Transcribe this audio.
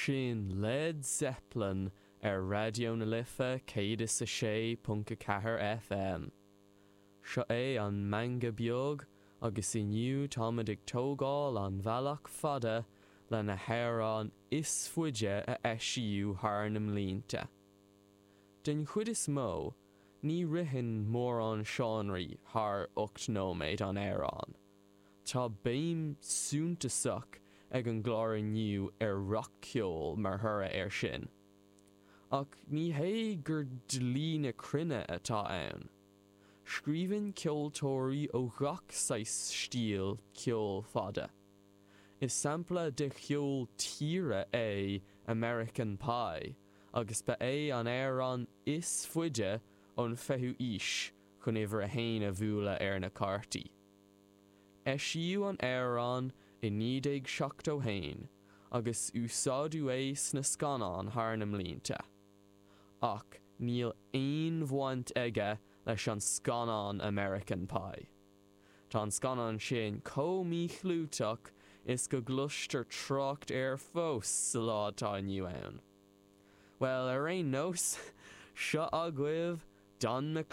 Sin Led Zeppelin ar Raidió na Life 106.4 FM. Seo é an Meangadh Beag agus inniu táimid ag tógáil an bhealach fada le na hamhráin is faide a eisíodh thar na mblianta. Den chuid is mó, ní ritheann mórán seánraí thar 8 nóiméad an amhrán. Tá béim suntasach ag an gclár inniu ar rac-cheol mar thoradh air sin. Ach ní hé gur dlí na cruinne atá ann. Scríobhann ceoltóirí ó ghach saghas stíl ceol fada. Is sampla de cheol tíre é American Pie agus ba é an amhrán is faide ón 20ú aois chun uimhir a haon a bhualadh ar na cártaí. Eisíodh an amhrán i 1971 agus úsáideadh é sna scannáin thar na mblianta. Ach níl aon bhaint aige leis an scannán American Pie. Tá an scannán sin chomh míchlúiteach is go gcloistear trácht air fós sa lá atá inniu ann. Bhuel, ar aon nós, seo agaibh Don McLean.